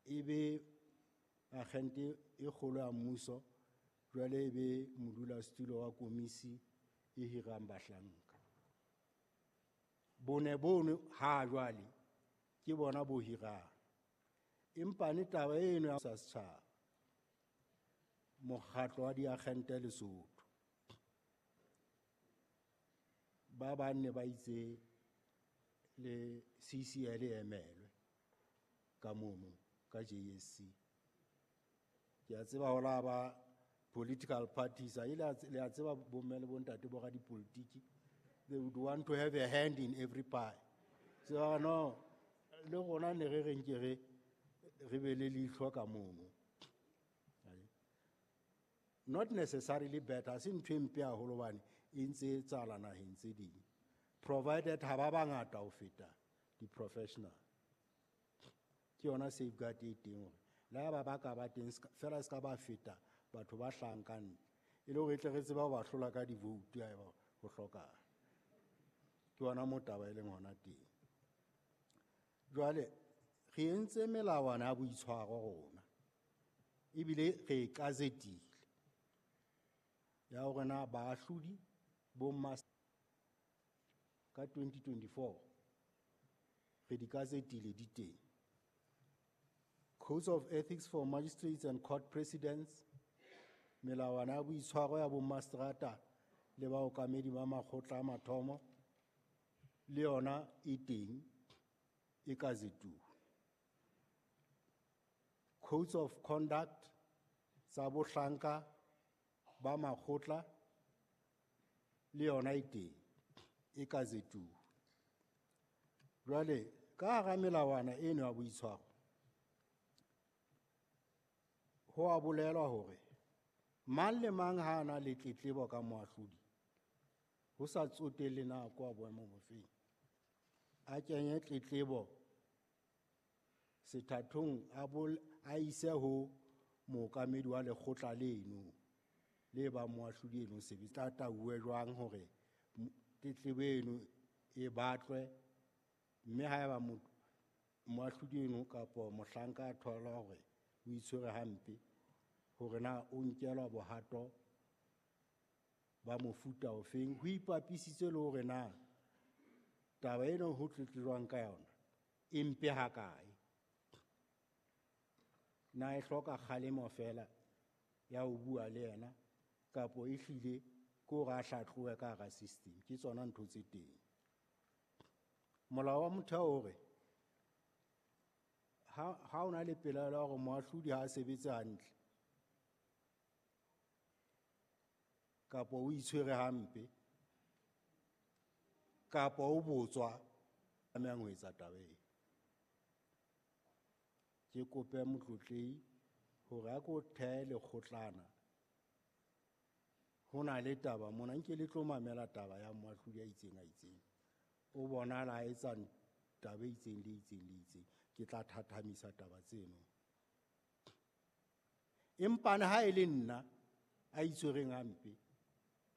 E be agente e kgolo ya mmuso, jwale e be modulasetulo wa komisi e hirang bahlanka. Bone bono ha jwale ke bona bo hirang. Empa ne taba eno ya sa setjhaba, mokgatlo wa diagente Lesotho, ba bang ne ba itse le CCL e emelwe ka mono ka JSC. Ke a tseba ho la ba political parties, a ile le a tseba bomme le bontate bo radipolitiki, they would want to have a hand in every pie. So no, le rona ne re reng ke re be le leihlo ka mono. Not necessarily better, se ntho e mpe haholo hobane e ntse e etsahala naheng tse ding, provided ha ba bangata ho feta di-professional. Ke yona safeguard e teng hore le ha ba ka ba teng fela se ka ba feta batho ba hlahang ka ntle, e le hore e tle re tsebe ho ba hlola ka di-vote haeba ho hlokahala. Ke yona moo taba e leng hona teng. Jwale re entse melawana ya boitshwaro rona, ebile re e gazetile ya hore na baahlodi bo ka 2024 re di gazetile di teng. Codes of Ethics for Magistrates and Court Presidents, melawana ya boitshwaro ya bommaseterata le baokamedi ba makgotla a mathomo le yona e teng, e gazetuwe. Codes of Conduct tsa bohlanka ba makgotla le yona e teng, e gazetuwe. Jwale ka hara melawana eno ya boitshwaro ho a bolelwa hore mang le mang ha a na le tletlebo ka moahlodi, ho sa tsotelle na kwa boemo bofeng, a kenye tletlebo sethathong, a ise ho mookamedi wa lekgotla leno le ba moahlodi eno sebetsa. Tla tauwe jwang hore tletlebo eno e batlwe, mme haeba moahlodi eno kapa mohlanka a thola hore o itshwere hampe, hore na o nkelwa bohato ba mofuta ofeng, ho ipapisitse le hore na taba eno ho tletlejwang ka yona e mpe hakae, na e hloka kgalemo fela ya ho bua le yena kapo e hlile ke hore a hlatlohe ka hara system. Ke tsona ntho tse teng. Molao wa motheo hore ha o na le pelaelo ya hore moahlodi ha a sebetse hantle kapo o itshwere hampe kapo o botswa, tlamehang ho etsa taba ena. Ke kope motlotlehi hore a ko thehe lekgotlana. Ho na le taba mona, nke le tlo mamela taba ya moahlodi a itseng a itseng. O bonahala a etsa taba e itseng le itseng le itseng. Ke tla thathamisa taba tseno. Empa ha e le nna a itshwereng hampe,